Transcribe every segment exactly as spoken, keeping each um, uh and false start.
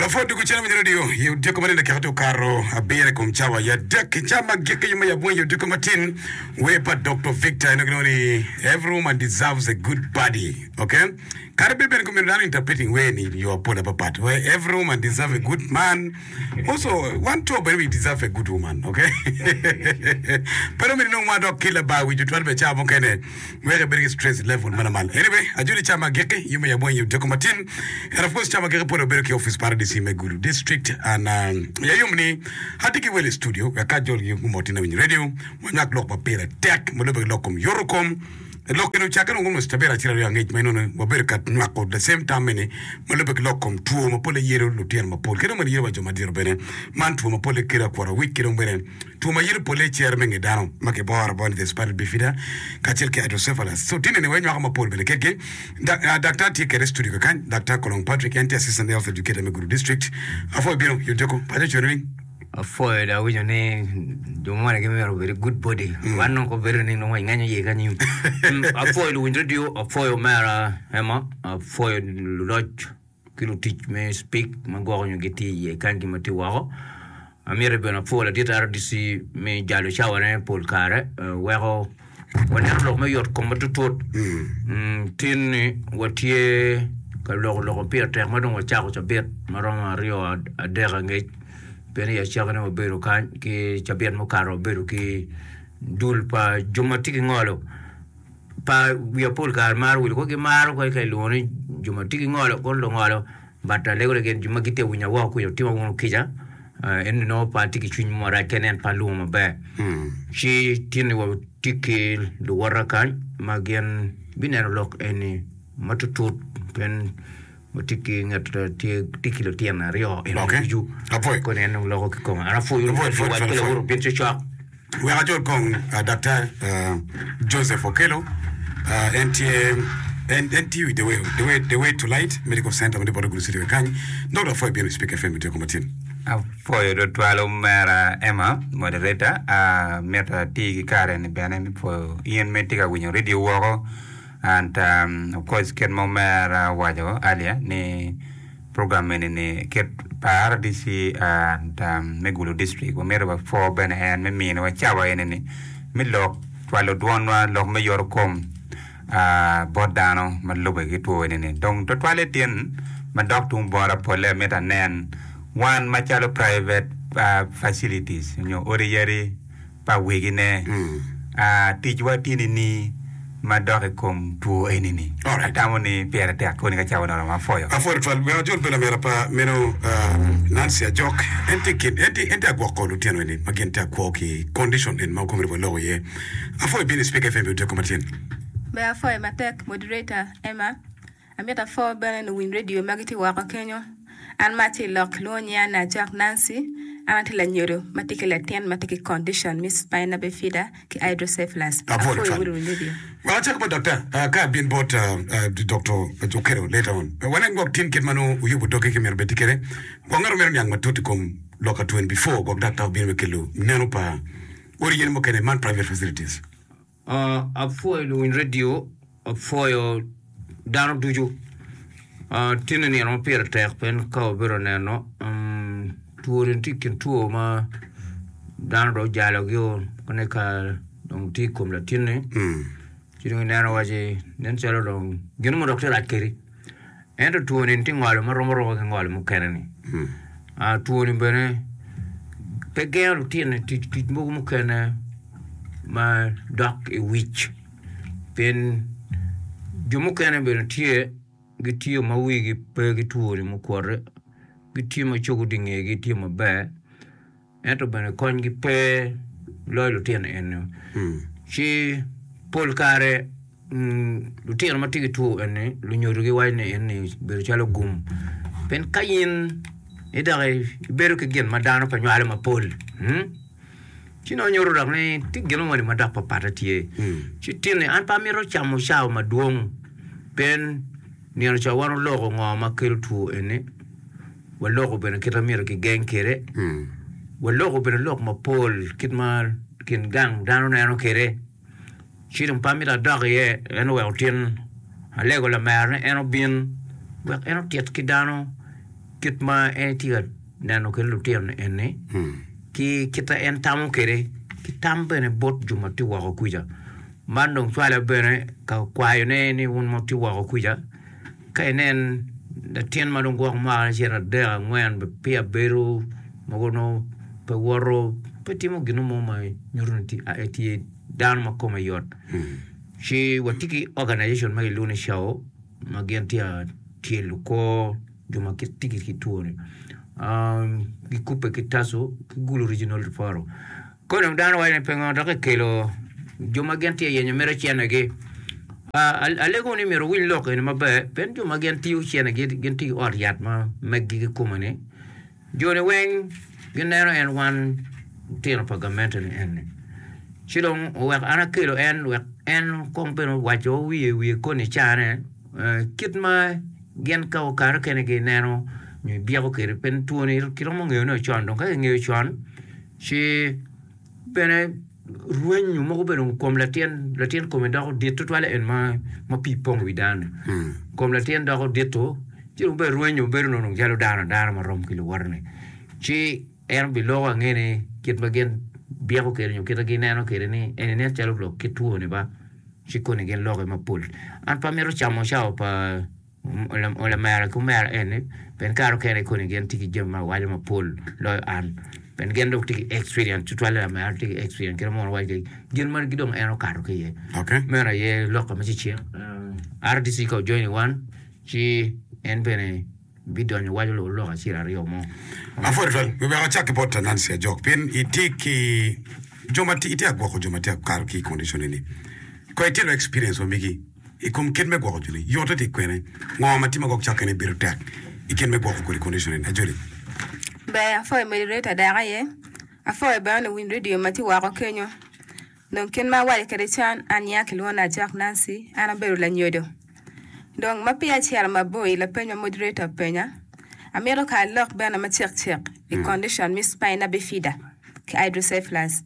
Wapwod dugu cen winyo radio i odiko ma nino keko tye okato abiro i kom cawa ya adek i cawa ma gik i ma yabweng i odiko matin wer pa Doctor Victor en gilwongo ni every woman deserves a good body okay kadi bed bene komito dano interpreting wer ni i yo apol apapat where every woman deserve a good man also wan co bene we deserve a good woman okay pe dong myero inong ma dok ki labar wic tutwal bene cawa mukene wek ibed ki stress level ma lamal. Anyway, ajoli ca ma agikki, yub me yabweng i odiko matin. And of course, ca ma agikki pole wabedo ki office pa R D C me Gulu District. And um, ya yom ni atye ki wel i studio wek ka ajolgi gumot in awinyo radio, wanywak lok ma pire tek ma lubbe ki lok kom yoto kom. Lok eni ocakke dong almost cabit acel aryo angec ma inongo wabedo ka nywako the same tam eni ma lubbe ki lok kom two ma pole yelo lutino mapol ki dong bene yelo wa jo madito bene. Man two ma pole kelo akwota wic ki dong bene Two ma yito polle i cere me nge dano ma kiboro abora ni the spinal bifida kacel ki hydrocephalus. So tinne ni wanywako mapol bene kedgi. Daktar tye kede i studio kakany, Daktar Kolong Patrick, en tye Assistant Health Educator me Gulu District. Apwoyo bino i odiko paco cwero winy. Apwoyo dong awinyo ni jo moni gimito obed i good body wan dong kobedo ni nongo ingenyo iye ki anyim. Apwoyo luwiny radio, apwoyo omera Emma, apwoyo luloc ki lutic me Speke ma gwoko nyo gitye iye kany ki ma tye woko. Amito bene apwo ladit R D C me jalo cawane pol kare weko waneno lok me yot kom matutut. Tin ni watye ka loko lok ma pire tek ma dong wacako cabit ma romo aryo adek angec pien i acakine wabedo kany ki cabit mukato wabedo ki dul pa jo ma tye ki ngolo. Pa wiya pol kare maro wilo kono gimaro kadi ka ilwongo ni jo ma tye ki ngolo kono lungolo but alego ni gin jo ma gitye ka winyo woko kwija otima wunu kica ento nongo pe atye ki cwiny mo marac kadi nen pe alwongo maber ci tin ni watye ki luwota kany ma gin bineno lok eni matutut pien watye ki ngat ma tye ki lutino aryo eni Okay. ducu Apwoyo. kono en dong loko kikome an apwoyo Apwoyo, apwoyo, wac ki apwoyo. lawoti obin cocok. Wek ajol kong Daktar Joseph Okello, en tye en tiyo i The Way, The Way, The Way to Light Medical Center ma tye bot Gulu City wa kany. Dok dong apwoyo bino i Spik F M otyeko matin. Apwoyo tutwal omera Emma, moderator. Amito ati ki kare ni bene me pwoyo in ma itye ka winyo radio woko and of course kit ma omera owaco earlier ni Program eni ni kit pa R D C and me Gulu District wamito wapwo bene en me miniwa cawa eni ni me lok cwalo dwonwa lok me yoto kom bot dano ma lube ki two eni ni dong tutwale tin ma dok tung bota pole amito anen wan macalo private facilities nyo odi yadi pa wegine. Ticwa tye nining ma dok i kom two eni-ni? Alright. Atamo ni pire tek koni ka cawa oromo. Apwoyo. Apwoyo twal. Wek ajol bene lamera pa meno Nancy Ajok. En tye i kin, en tye, en tye agwoko lutino eni ma gin tye akwo ki condition eni ma komiti waloko iye. Apwoyo bino i Spik F M i odiko matin. Ber apwoyo matek moderator Emma. Amito apwo bene luwiny redio ma gitye woko kenyo. An ma atye i lok kilwongo nyinga ni Ajok Nancy. An atye lanyodo ma tye ki latin ma tye ki condition me spina bifida ki hydrocephalus. Apwoyo Apwoyo tutwal. wunu luwiny redio. Wek acak bot daktar, ka abin bot Doctor Okello later on. Wanen gwok tin kit ma nongo wuyubo dogi ki myero obed tye kwede. Gwok ngat omito niang matut i kom lok atwen before gwok daktar obino me kelo neno pa odi yen mukene man private facilities. Apwoyo luwiny redio, apwoyo dano ducu. Tin-ni nino ma pire tek pien ka wabedo ka neno two-ni tye i kin two ma dano dong ojalogi kene ka dong tye i kom latinni ci dong ineno waci nen calo dong gin mo dok tye rac kwedi ento two-ni tye ngolo ma rom aroma ki ngolo mukene-ni two-ni bene pe gengo lutino i tic tic mogo mukene ma dok i wic pien jo mukene bene tye gitiyo ma wigi pe ki twoni mukwote gitiyo ma cogo tye ingegi tye maber ento bene konygi pe loyo lutino eni ci pol kare lutino ma tye ki two eni lunyodo giwaco ni eni bedo calo gum pien ka in idok ibedo ki gin ma dano pe nywalo mapol ci nongo nyuto dok ni tye gin moni ma dok papatte tye. Ci tinni an pe amito camo cawa madwong pien nino ca wan oloko ngo ma kelo two eni, waloko bene kit ma myero kigeng kwede, waloko bene lok mapol kit ma kin gang dano neno kwede. Ci dong pe amito adok iye en oweko tin alego lamera ni en obin wek en otit ki dano kit ma en tye ka neno kwede lutino eni ki kit ma en tamo kwede ki tam bene bot jo ma tye woko kuca. Man dong cwale bene ka kwayone ni wun ma wutye woko kuca ka inen latin ma dong gwok mwaka acel adek angwen peya bedo mogo nongo pe woto pe timo gin mo ma nyuto ni etye dano ma kome yot ci watye ki organization ma kilwongo ni CAO ma gin tye ka tyelo kor jo ma gitye ki two-ni gikubbe ki TASO ki Gulu Regional Referral. Kong dong dano waco ni pingo dok kikelo jo ma gin tye ka yenyo mito cenegi. Alego ni myero wuwiny lok eni maber pien jo ma gin tiyo cenegi gin tye ki ot yat ma meggi kikome-ni jo-ni weng gineno en wan litino pa gamente-ni eni ci dong oweko an akelo en wek en kong bene owaco wiye wiye koni icane kit ma gin ka kare mukene gineno nyo ibyeko kwede pien twoni kiromo ngeyone con dong ka kingeyo con ci bene rwenyo mogo bene kom latin latin kome doko dit tutwal en ma pii pong i wi dano-ni kom latin doko dito ci dong bene rwenyo bedo nongo calo dano adana marom ki luwote-ni ci en obiloko ange ni kit ma gin byeko kwede nyo kit ma gineno kwede ni eni nen calo lok kit twoni ba ci koni gin lokke mapol an pe amito camo cawa pa lamera ki omera eni pien kare mukene koni gin tye ki jami ma awaco mapol loyo an pien gin dong tye ki experience tutwalle lamera tye ki experience kit ma mono waco kwede gin ma dong en okato ki iye meno aye lok me cecek RDC ka ojoini wan ci en bene bidonyo waco lok acel aryo mo. Apwoyo twal, wi wek acak ki bot Nancy Ajok pien itye ki jo ma itye ka gwoko jo ma tye ka kato ki i condition eni. Kono itye experience ma megi i kom kit me gwoko joni, yotte tye kwene, ngo ma tye ma gwok cakkene bedo tek i kit me gwoko kodi condition eni. Ajoli. Ber, apwoyo moderator dok aye, apwoyo bene luwiny radio ma tye woko kenyo. Dong kit ma awaco kwede con, an nyinga kilwongo ni Ajok Nancy, an abedo lanyodo. Dong ma peya acito mabor i lapeny ma moderator openya, amito ka alok bene macek cek i condition me spina bifida ki hydrocephalus.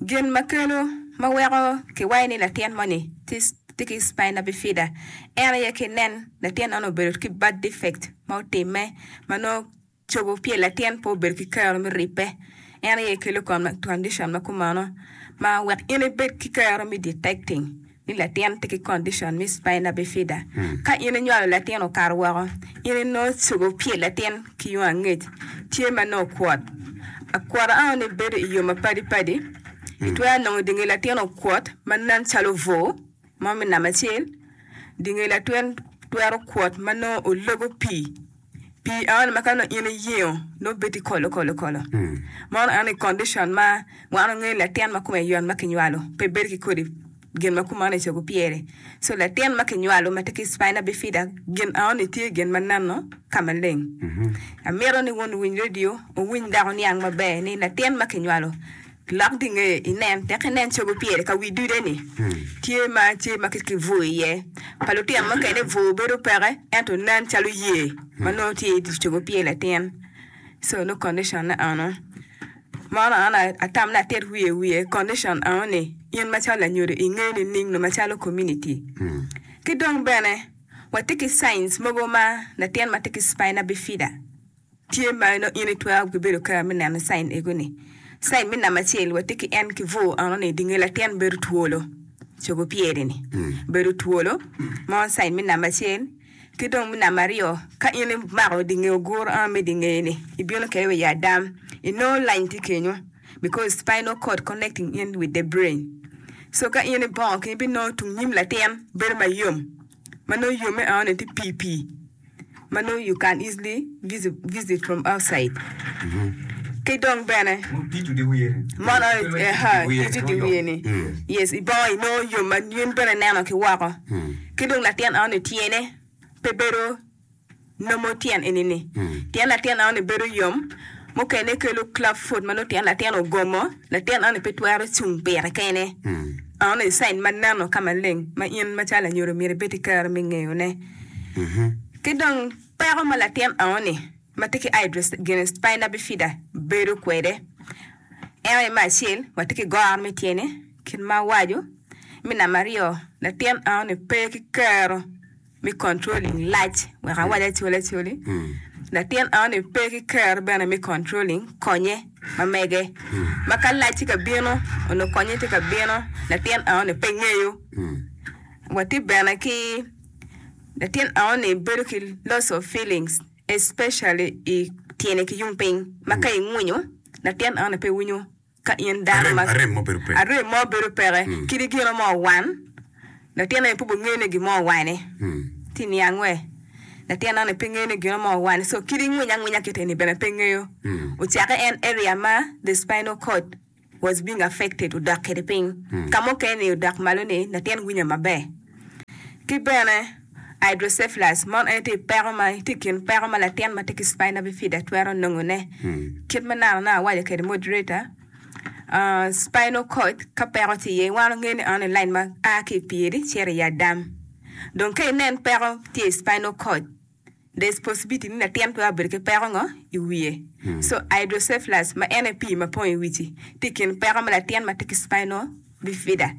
Gin ma kelo ma weko kiwaco ni latin moni tye ki spina bifida en aye ki nen latin eno obedo ki birth defect ma otimme ma nongo cobo pye latin pe obedo ki kero me ribbe. En aye kelo condition ma kumeno ma wek in ibed ki kero me detecting ni latin tye ki condition me spina bifida. Ka in inywalo latin okato woko, in inongo cobo pye latin ki yung angec tye ma nongo okwot. Akwota enoni bedo i yo mapadi padi. Itwero nongo dinge latin okwot ma nen calo bur mo me namba acel, dinge latin twero kwot ma nongo ologo pii. Pii enoni ma ka nongo in iyengo nongo bedo tye kolo kolo kolo. Meno enoni condition ma wan wangeyo ni latin ma kome yot ma kinywalo pe bedo ki kodi gin ma kumeno i cogo pyere. So latin ma kinywalo ma tye ki spina bifida gin enoni tye gin ma neno ka maleng. Amito ni wun wuwiny radio wuwiny dok wuniang maber ni latin ma kinywalo lok di ngeye inen tek inen cogo pyere ka wi dude ni tye ma tye ma ki bur iye. Pa lutino mukene bur bedo peke ento nen calo yer ma nongo tye i cogo pyer latin. So nongo condition ne eno. Meno an atamo ni atit wiye wiye condition eno ni in macalo lanyodo ingeyo nining nyo macalo community. Ki dong bene watye ki signs mogo ma latin ma tye ki spina bifida tye ma nongo in itwero ki bedo kero me neno sign ego ni. Sign me namba acel watye ki en ki bur eno ni dinge latin bedo twolo cobo pyere ni bedo twolo meno sign me namba acel. Ki dong me namba aryo, ka in imako dinge oguro eno me dinge ni ibino kwede wa i adam inongo line tye kenyo because spinal cord connecting in with the brain. So ka in ibongo kenyo ibinongo tung nyim latin bedo mayom ma nongo yomme eno ni tye pii pii ma nongo you can easily visit from outside. Ki dong bene mono tico di wiye ni yes ibongo inongo yom ma in bene ineno ki woko. Ki dong latin eno-ni tyene pe bedo nomo tyen eni-ni. Tyen latin eno-ni bedo yom, mukene kelo club foot ma nongo tyen latin ogomo, latin eno-ni pe twero cung pire kene. Eno-ni cain ma neno ka maleng ma in macalo lanyodo myero ibed ki kero me ngeyone. Ki dong peko ma latin eno-ni ma tye ki spina bifida bedo kwede en aye me acel watye ki goro me tyene kit ma awaco. Me namba aryo, latin enoni pe ki kero me controlling lac wek awac acoli acoli. Latin eno-ni pe ki kero bene me controlling konye ma mege. Ma ka lac tye ka bino onongo konye tye ka bino latin eno-ni pe ngeyo. Watye bene ki latin eno-ni bedo ki loss of feelings especially i tyene ki yung piny ma ka ingwinyo latin eno-ni pe winyo ka in dano ma Arem mo bedo peke. Arem mo bedo peke. Kadi gino mo owan, latin eni pe obingeyo ni gin mo owane. Tye niang we? Latin eni pe ngeyo ni gino mo owane. So kadi ingwinyo angwinya kit eni bene pe ngeyo. Ocakke en area ma the spinal cord was being affected odok kwede piny. Ka mukene ni odok malo ni latin winyo maber. Ki bene hydrocephalus mono en tye i peko ma tye i kin peko ma latin ma tye ki spina bifida twero nongone. Kit ma nano nongo awaco kwede moderator, uh, spinal cord ka peko tye iye wan wangeyo ni eno ni line ma a ki i pyeri cito i adam. Dong ka inen peko tye i spinal cord, there is possibility ni latin twero bedo ki peko ngo i wiye. So hydrocephalus ma en aye pii ma pong i wici tye i kin peko ma latin ma tye ki spinal bifida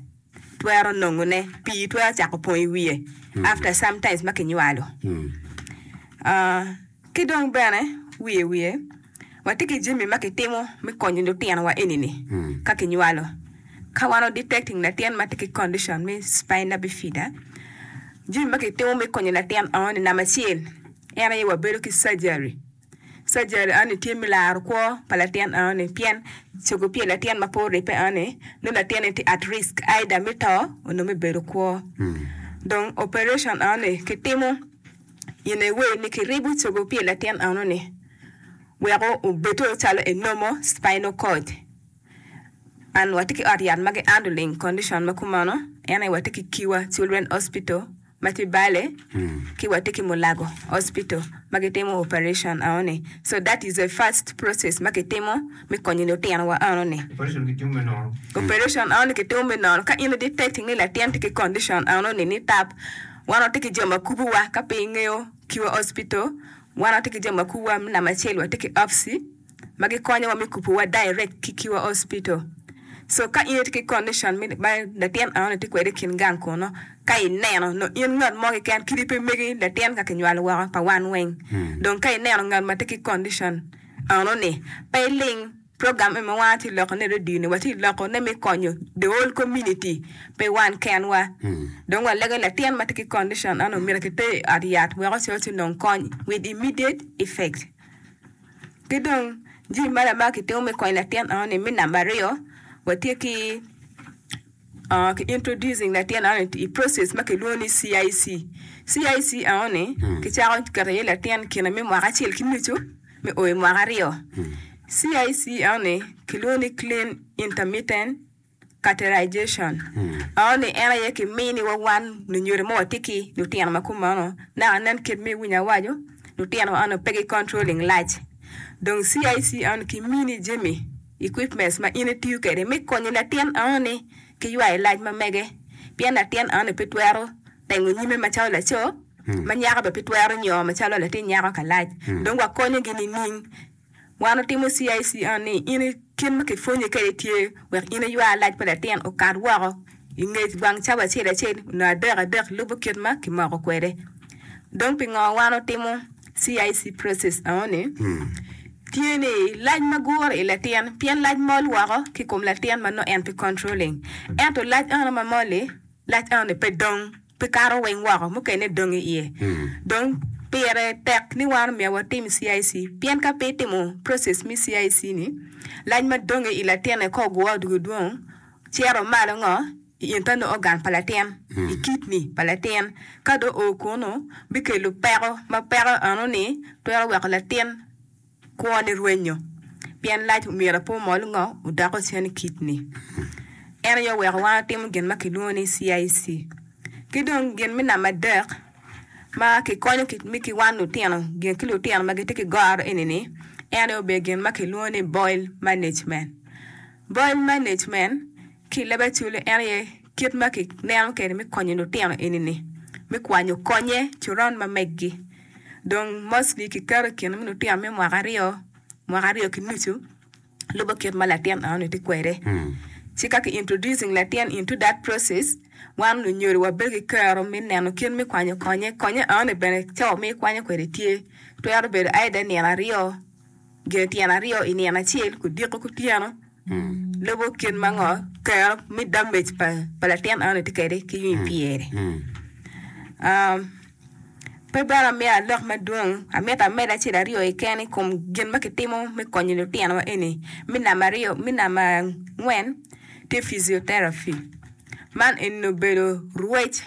twero nongone. Pii twero cako pong i wiye after sometimes ma kinywalo. Uh, ki dong bene wiye wiye watye ki jami ma kitimo me konyo lutinowa eni-ni ka kinywalo. Ka wan wa detecting latin ma tye ki condition me spina bifida, jami ma kitimo me konyo latin eno-ni namba acel en aye wabedo ki surgery. Surgery eno-ni tye me laro kwo pa latin eno-ni pien cogo pye latin ma pe oribbe eno-ni nongo latin-ni tye at risk either me to onyo me bedo kwo. Dong operation eno-ni kitimo in a way ni kiribo cogo pye latin eno-ni weko obedo calo a normal spinal cord. And watye ki ot yat ma gi handling condition ma kumeno en aye watye ki Kiwa Children Hospital ma tye Bale ki watye ki Mulago Hospital ma gitimo operation eno-ni. So that is the first process ma kitimo me konyo lutinowa eno-ni. Operation kitimo me nono. Operation eno-ni kitimo me nono ka in i detecting ni latin tye ki condition eno-ni ni tap wan watye ki jo ma kubowa ka pe ingeyo Kiwa Hospital wan watye ki jo ma kubowa me namba acel watye ki OPSI ma gikonyowa me kubowa direct ki Kiwa Hospital. So ka in itye ki condition me ma latin eno-ni tye kwede i kin gang kunu ka ineno nongo in ngat mo keken kadi pe megi latin ka kinywalo woko pa wan weng. Dong ka ineno ngat ma tye ki condition eno-ni pe iling program eni ma wan watye ka lokone i radio ni watye ka lokone me konyo the whole community pe wan kenwa. Dong walego ni latin ma tye ki condition eno myero kiter i ot yat wek ocit onong kony with immediate effect. Ki dong jami magi ma kitimo me konyo latin eno-ni me namba aryo watye ki uh, ki introducing latin eno-ni i process ma kilwongo ni C I C. C I C eno-ni kicako keto iye latin kine me mwaka acel ki nucu me o i mwaka aryo. C I C eno-ni kilwongo ni clean intermittent catheterization. Eno-ni en aye kiminiwa wan lunyodo ma watye ki lutino ma kumeno naka nen kit ma iwinyo awaco lutino eno pe gi controlling lac. Dong C I C eno kimini jami equipments ma in itiyo kwede me konyo latin eno-ni ki ywayo lac ma mege pien latin eno-ni pe twero tengo nyime macalo laco ma nyako bene pe twero nyo macalo latin nyako ka lac. Dong wakonyogi nining? Wan otimo C I C eno ni in kit ma kipwonyi kwede tye wek in iywa lac pa latin okat woko i nge wang cawa acel acel nyo adek adek lubo kit ma kimoko kwede. Dong pingo wan otimo C I C process eno-ni? Tye ni lac ma gure i latin pien lac mol woko ki kom latin ma nongo en pe controlling. Ento lac eno ma mol-li lac eno-ni pe dong pe kato weng woko mukene dong i iye. Dong pire tek ni wan omyero watim C I C pien ka pe itimo process me C I C ni lac ma dong i latinne ka ogure odwogo dwong cito malo ngo i internal organ pa latin i kidney pa latin ka dong oo kunu bikelo peko ma peko eno ni twero weko latin kwone rwenyo pien lac omyero pe omol ngo odoko cen i kidney. En aye oweko wan watimo gin ma kilwongo ni C I C. Ki dong gin me namba adek ma kikonyo me ki wan lutino gin ki lutino ma gitye ki goro eni-ni en aye obedo gin ma kilwongo ni bowel management. Bowel management ki i leb Acholi en aye kit ma kineno kwede me konyo lutino eni-ni me kwanyo konye coron ma meggi. Dong mostly kiketo i kine me lutino me mwaka aryo, mwaka aryo ki nucu lubo kit ma latin eno-ni tye kwede. Ci ka ki introducing latin into that process wan lunyodo wabedo ki kero me neno kit me kwanyo konye. Konye eno-ni bene cawa ma ikwanyo kwede tye Twero bedo either nino aryo, gin tyen aryo i nino acel kudiko kutyeno. Lubo kit ma ngo kero me damage pa, pa latin eno tye kwede ki yung i pyere. Um, pe bene amiyo alok madwong, amito amed acel aryo keken i kom gin ma kitimo me konyo lutinowa eni. Me namba aryo, me namba angwen tye physiotherapy. Man eni obedo rwec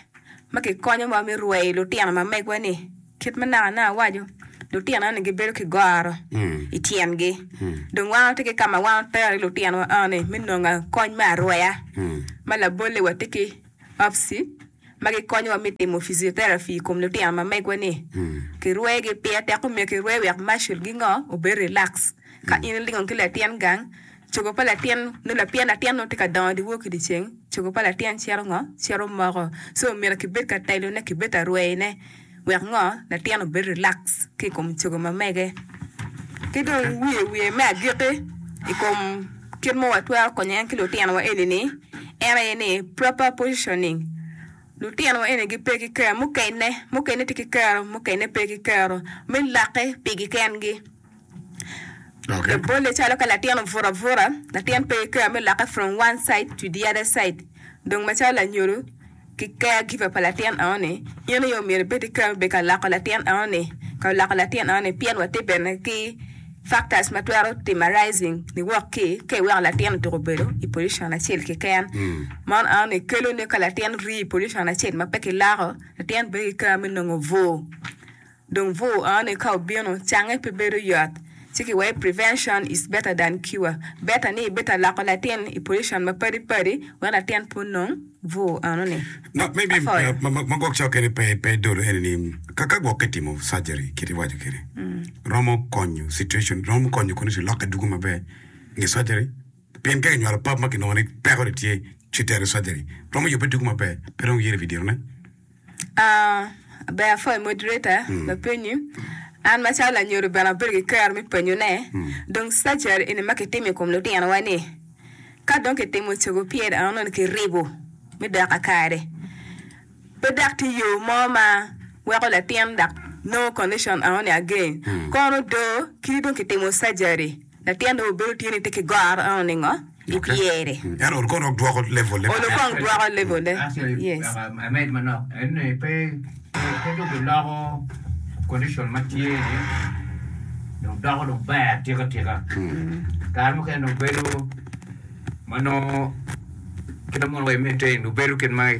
ma kikonyowa me rweyo lutino ma megwa ni kit ma naka naka awaco lutino eni gibedo ki goro i tyengi. Dong wan watye ki ka ma wan watero ki lutinowa eni me nongo kony me arweya. Ma labolle watye ki OPSI ma gikonyowa me timo physiotherapy i kom lutino ma megwa ni. Kirwegi pire tek omyero kirwe wek muscle gi ngo obed relax. Ka in ilingo ki latin gang, cogo pa latin nongo pien latin nongo tye ka dongo dyewor ki dyeceng, cogo pa latin cito ngo cito moko. So myero kibed ka telone kibed ka rweyone wek ngo latin obed relax ki i kom cogo ma mege. Ki dong wiye wiye me agikki i kom kit ma watwero konyo en ki lutinowa eni ni en aye ni proper positioning. Lutinowa eni gipe ki kero mukene, mukene tye ki kero mukene pe ki kero me lokke pigi kengi. Okay. Labolle calo ka latin obuto abuta, latin pe ki kero me lokke from one side to the other side. Dong macalo lanyodo ki caregiver pa latin eno-ni, in aye omyero ibed ki kero me bedo ka loko latin eno-ni, ka loko latin eno-ni pien watye bene ki factors ma twero timo arising niwok ki ka iweko latin otuko bedo i position acel keken. Man eno-ni kelo ni ka latin rii i position acel ma pe kiloko, latin bedo ki kero me nongo bur. Dong bur eno-ni ka obino, cange pe bedo yot. Ci kiwaco prevention is better than cure. Better ni ibed ka loko latin i position ma padi padi wek latin pe onong bur eno-ni. No, maybe Apwoyo. uh, ma, ma, ma gwok cok kene pe pe dolo eni ni ka ka gwok kitimo surgery kit iwaco kede romo konyo situation romo konyo condition lokke dugo maber nge surgery pien ka kinywalo pap ma kinongo ni peko ni tye ci tero surgery romo yubbe dugo maber pe dong yere wi Ah, ber apwoyo moderator lapenyi. An macalo lanyodo bene abedo ki kero me penyone. Dong surgery eni ma kitimo i kom lutinowa ni ka dong kitimo cogo pyer eno ni kiribo me dok kakare. Pe dok tye yo mo ma weko latin dok nongo condition eno ni again. Kono do kadi dong kitimo surgery latin dong obedo tye ni tye ki goro eno ni ngo i pyere. ento ol kono dwoko level le Olo kong dwoko level le. Actually, Yes. uh, amed manok ene pe pe dong giloko condition ma tye ni dong doko dong ber atika tika. Kare mukene dong bedo ma nongo kit ma mono wa i maintain dong bedo kit ma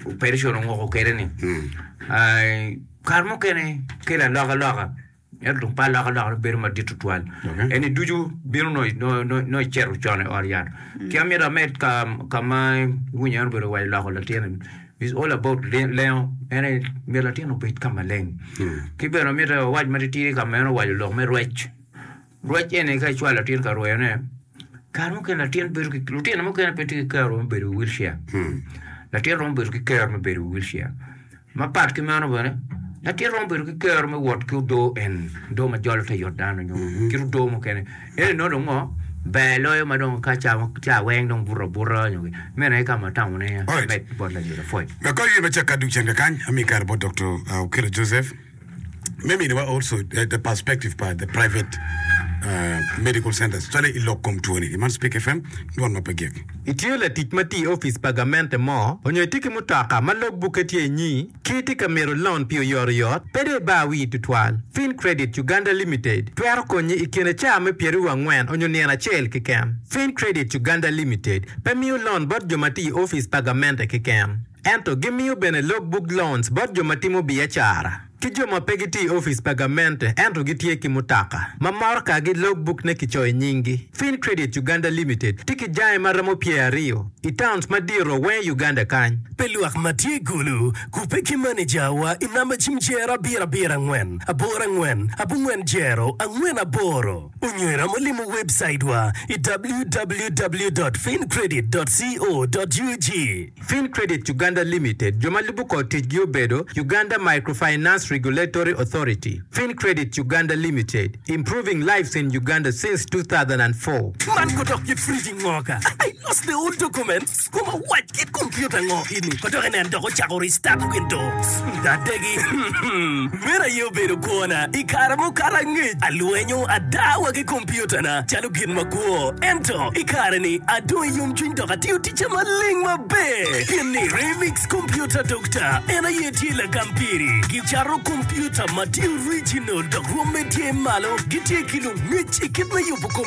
operation ongoko kwede ni. Ai, kare mukene kelo alokaloka ento dong pe alokaloka bedo madit tutwal. Okay. Eni ducu bino nongo nongo nongo icito con i ot yat. Ki amito amed ka ka ma iwinyo en obedo waco loko latin is all about lengo en aye myero latin obed ka maleng. Ki bene amito awac matitidi ka ma en owaco lok me rwec. Rwec eni ka icwalo latin ka rweyone kare mukene latin bedo ki lutino mukene pe tye ki kero me bedo i wheelchair. Latin romo bedo ki kero me bedo i wheelchair. Mapat ki meno bene latin romo bedo ki kero me wot ki odoo en odoo ma jolo te yot dano nyo kit odoo mukene. Eni nongo dong ngo ber loyo ma dong ka ca ca weng dong buto abuta nyo meno aye ka ma atamo ni Alright. med bot lanyodo apwoyo. Wek kong in macak ka dug cen kakany ami kare bot Dr. uh, Okello Joseph me miniwa also uh, the perspective pa the private uh, medical centers cwale i lok kom two ni man Speak FM dwon ma pe gik. Itye latic ma tye i opic pa gamente mo onyo itye ki mutoka ma logbukke tye inyi ki itye ka mito loan pi oyotoyot pe dong ibar wii tutwal. Fin Credit Uganda Limited twero konyi i kine caa me pyeraryo angwen onyo nino acel keken. Fin Credit Uganda Limited pe miyo loan bot jo ma tye i opic pa gamente keken. Ento gimiyo bene logbook loans bot jo ma timo biacara ki jo ma pe gitye i opic pa gamente ento gitye ki mutoka ma moroka-gi logbook ne kicoyo nyinggi. Fin Credit Uganda Limited tye ki jange ma romo pyer aryo i towns madito weng i Uganda kany. Pe lwak ma tye i Gulu, kubbe ki manejawa i namba cim jero abiro abiro angwen, aboro angwen, abongwen jero, angwen aboro. Onyo iromo limo website wa i www.fincredit.co.ug. Fin Credit Uganda Limited jo ma lubo kor ticgi obedo Uganda Microfinance Finance Regulatory Authority. Fincredit Uganda Limited, improving lives in Uganda since two thousand and four. Man kodok kit fridge ngo ka? I lost the old documents. Kuma wac kit computer ngo ini. Kodok enen dok ocako restart Windows. Dadegi. Meno aye obedo kwona. I kare mukato angec, alwenyo adawa ki computer na calo gin makwo. Ento, i kare-ni, adong i yomcwiny dok atiyo ticca maleng maber. Pien ni Remix Computer Doctor en aye tye lagam piri. Gicato computer ma tye original dok rwomme tye malo. Gitye ki lungec i kit me yubo computer.